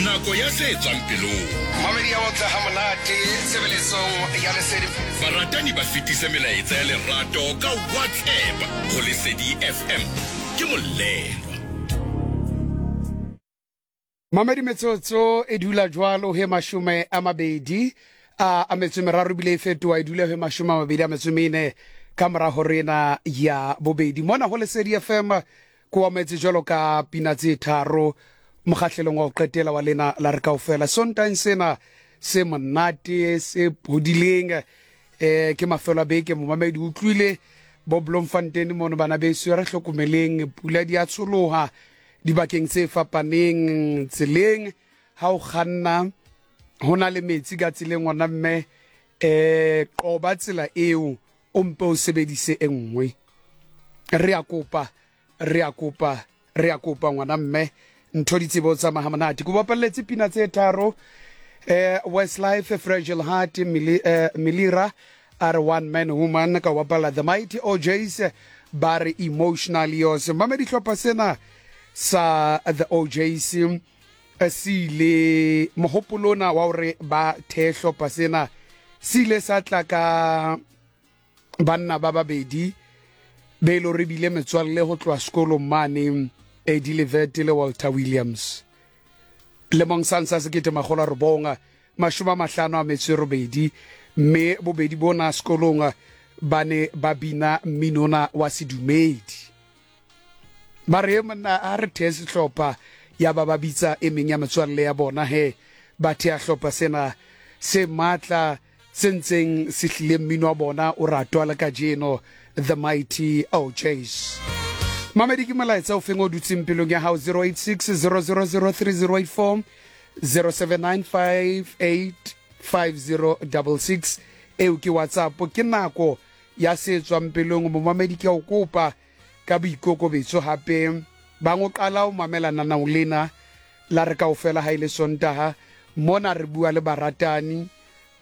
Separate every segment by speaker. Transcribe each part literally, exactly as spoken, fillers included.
Speaker 1: Nako ya se tswang pelong.
Speaker 2: Mamedi ya otla ha monate tshebeletsong ya Lesedi.
Speaker 1: Baratani ba fetise melaetsa ya lerato ka WhatsApp ho Lesedi F M. Ke molelwa.
Speaker 3: Mamedi metsotso e dula jwalo he mashome a mabedi a a metso meraro bile e fetoha e dula he mashome a mabedi a metso mene ka mora horena ya bobedi. Mona ho Lesedi F M ko ametse jwalo ka pina tse tharo mokgahlelong wa ho qetela wa lena la re kaofela. Sontaeng sena se monate se phodileng eh ke mafelo a beke. Momamedi utlwile bo Bloemfontein mono bana beso re hlokomeleng pula di a tsholoha dibakeng tse fapaneng tseleng. Ha o kganna ho na le metsi ka tseleng ngwana mme eh qoba tsela eo o mpe o sebedise e nngwe. Re a kopa re a kopa re a kopa ngwana mme ntho di tsebo tsa mahamonate. Ke bapalletse pina tse tharo eh Westlife, Fragile Heart, Mili, eh, Milira are One Man Woman, ka bapalla The Mighty O Js ba re Emotional Yours. Mamedi hlopha sena sa The O Js se ile mohopolona wa hore ba the hlopha sena se ile sa tla ka banna ba babedi be lo re bile metswalle ho tloha sekolong mane, Eddie Levert le Walter Williams. Lemong sa nsa sekete makgolo a robong mashome a mahlano a metso e robedi, mme bobedi bona sekolong ba ne ba bina mminona wa sedumedi. Ba re monna a re thee sehlopha, ya ba ba bitsa e meng ya metswalle ya bona he ba thea hlopha sena se matla se ntseng se hlile mmino wa bona o ratwa le kajeno, The Mighty O Js. Mamedi ke molaetsa o feng o dutseng pelong ya hao? Zero eight six zero zero zero three zero eight four zero seven nine five eight five zero double six. Eo ke WhatsApp. Ke nako ya se tswang pelong. Momamedi ke a o kopa ka boikokobetso hape ba ngo qala o mamela nanao lena la re kaofela ha ile Sontaha. Mona re bua le baratani,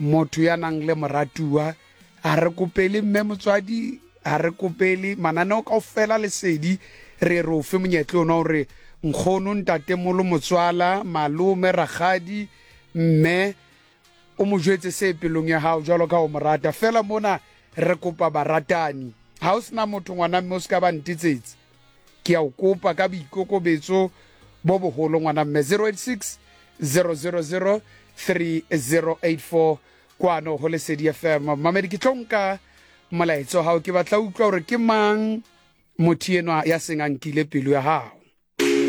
Speaker 3: motho ya nang le moratuwa, a re kopele mme motswadi, a re kopele mananeo kaofela Lesedi. Re re o fe monyetla ona hore nkgono, ntatemolo, motswala, malome, rakgadi, mme o mo jwetse se pelong ya hao jwalo ka o mo rata. Fela mona re kopa baratani. Ha o sena motho ngwana mme o ska ba ntetsetse, ke a o kopa ka boikokobetso bo boholo ngwana mme. Zero eight six zero zero zero three zero eight four kwano ho Lesedi F M. Mamedi ke tlo nka molaetsa wa hao, ke batla utlwa hore ke mang motho enwa ya seng a nkile pelo ya hao.